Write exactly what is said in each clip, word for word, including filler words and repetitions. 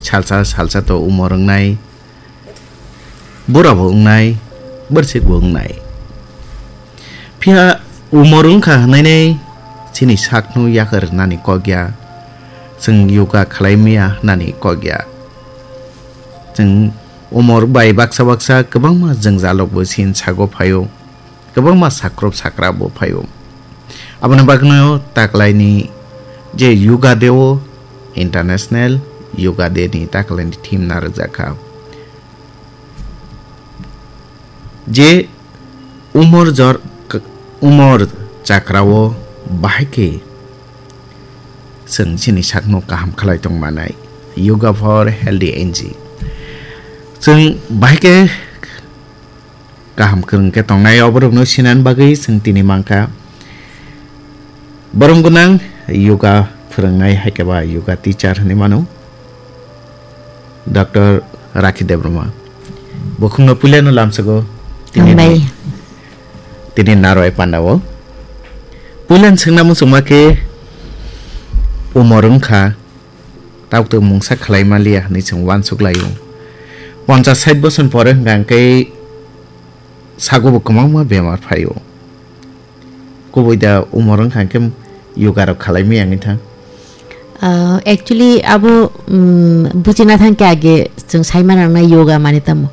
Salsa salsa to umor wngnai, bura bo wngnai, bwrwsik bo wngnai. Phiya umor wngkha hwnnainai chini sakno yakar rwnani kok ya, chwng yoga khlai maya hwnani kok ya. Chwng umor bai baksa baksa kwbangma jwngjalok bo chini sago phaio, kwbangma sakrop sakra bo phaio. Aboni bagwino taklaini je Yoga Day o, International Yoga Day ni taklaini theme narwkjakha. Je umor jor, k-, umor chakrao bahai khe chwng chini sakno kaham khlai tong manai. Yoga for Healthy Aging. Chwng bahai khe kaham kwrwng khe tongnai, oborokno sinani bagwi chwng tini mankha. Borom gwnang yoga phwrwngnai hai khe ba yoga teacher hinwi mano, Doctor Rakhi Debbarma. Bukhukno puilano lamsago tini Hambai. Tini narwai pandao. Puilan swngna muchungma khe umor wngkha, tabuk mungsa khlai maliya hinwi chwng uansuk laio. Ponchas sait bosor pore hwnkha hwnkhe sago bo kwbangma bemar phaio. Kubui da umor wngkha hwnkhe yoga rok khalai maya wngwi thang. Ah, actually, abo, mm, bujina thang khe age chwng sai manang na yoga mani tamo.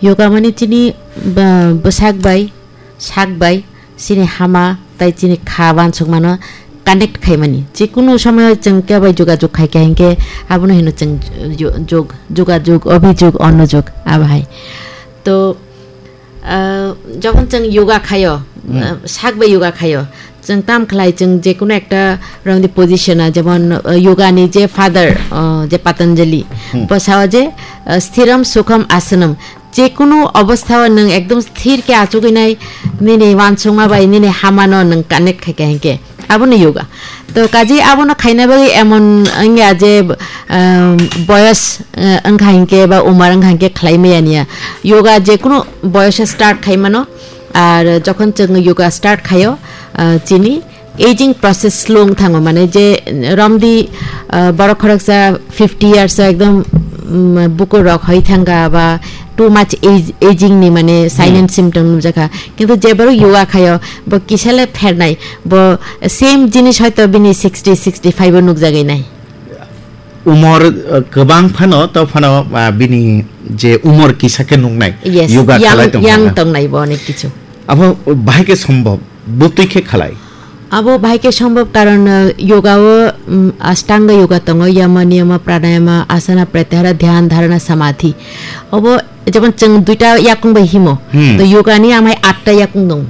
Yoga mani chini ba-, bwsak bai, sak bai, chini hama, tai chini kha wansukmano connect khaimani. Chikunu somoyo chwng kebo jogajog khai kha hinkhe abono hino chwng jo-, jog, jogajog, obhijog, onojog, abo hai. To, Ah, jokhon chwng yoga khaio, Hmm. ah, sak bai yoga khaio, chwng tam khlai chwng je kono ekta romni position a, jemon, ah, yoga ni je father, ah, je Patanjali, Hmm. bo sao je, ah, sthiram sukham asanam, je kono obostha o nwng ekdom sthir khe achugwi nai, nini wansukma bai nini hamano nwng connect khai kha hinkhe. Abono yoga. To kaji abono khaina bagwi emon wngya je, um, boyos, uh, wngkha hinkhe ba umar wngkha hinkhe khlai maya niya. Yoga je kunu boyos start khai mano. Ar jokhon chwng yoga start khaio, uh, chini aging process slow wng thango, mane je romdi, uh, borok khoroksa fifty years o ekdom, um, bukur rok hoi thanga ba too much age, aging ni mane sign Hmm. and symptom nukjakha. Kintu je borok yoga khaio, bo kisa le phernai, bo same jinis hoito bini sixty, sixty-five o nukjagwi nai. Umor, uh, kwbang phano, to phano, uh, bini je umor kisa khe nuknai, Yes, yoga young, khalai tong young phano. Tongnai bo onek kichu. Abo bahai khe sombhob, bwtwi khe khalai. Abo bahai khe sombhob, karon, uh, yoga o, um, Ashtanga yoga tongo, yama, niyama, pranayama, asana, pratyahara, dhyan, dharana, samadhi. Obo jemon chwng duita yakung bai himo, Hmm. to yoga ni amai atta yakung dong.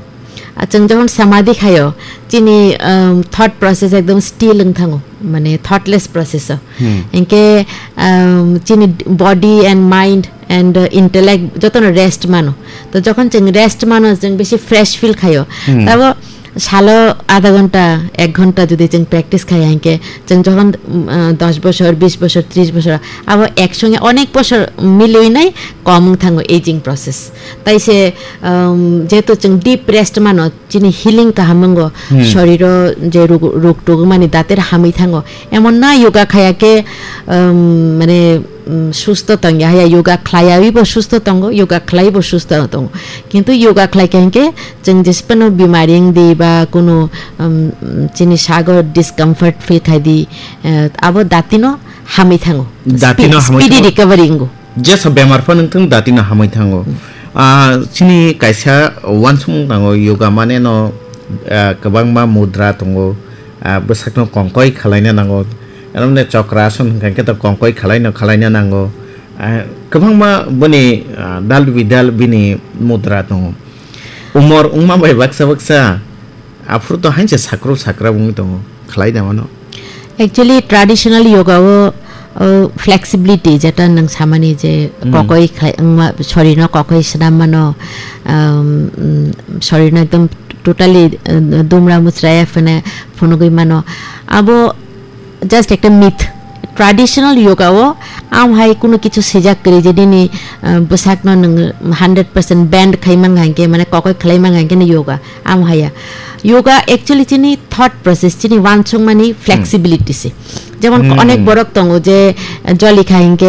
A chwng jokhon samadhi khaio, chini, um, thought process ekdom still wng thango, mane thoughtless process o. Hmm. Hinkhe, um, chini body and mind and, uh, intellect jotono rest mano. To jokhon chwng rest mano, chwng besi fresh feel khaio. Hmm. Tabo salo adha ghonta, ek ghonta jodi chwng practice khai hinkhe, chwng jokhon, um, uh, dos bosor, bis bosor, tris bosor, abo ek songe onek bosor milwi nai kom wng thango aging process. Tai se, um, jehetu chwng deep rest mano, chini healing kaham wngo, Hmm. soriro je rug, rug tugmani dater hamwi thango. Emon na yoga khaya khe, um, mane, um, susto tongya haya, yoga khlaiyawi bo susto tongo, yoga khlai bo susto tongo. Kintu yoga khlai khe hinkhe chwng jesphano bimari wng di ba kunu, um, chini sago discomfort feel khai di, eh, abo datino hamwi thango. Datino Spe-, hamwi speedy thango. Recovery wngo. Jesa bemar phano wngthung datino hamwi thango. Ah, chini kaisa wansukmung tongo, yoga mane no, ah, kwbangma mudra tongo. Ah, bwsakno kongkoi khwlaina nango. Aromne chokrason hwnkha khe to kongkoi khwlaino khwlaina nango. Ah, kwbangma boni, ah, dal bidal bini mudra tongo. Umor wngma bai baksa baksa, aphuru to hainse sakru sakra wngwi tongo, khlai da mano. Actually, traditional yoga o, o flexibility, jeta nwng samani je Hmm. kokoi khlai, wngma, sorino kokoi swnam mano, um, mm, sorino ekdom totally, uh, dumra muchra ya phene phunugwi mano. Abo just ekta myth. Traditional yoga o am hai kunu kichu sijak kwrwi je nini, uh, bwsakno nwng hundred percent bend khai mangha hinkhe, mane kokoi khlai mangha hinkhe no yoga. Am haya. Yoga actually chini thought process, chini wansukmani flexibility se. Jemon Hmm. onek borok tongo je, uh, joli kha hinkhe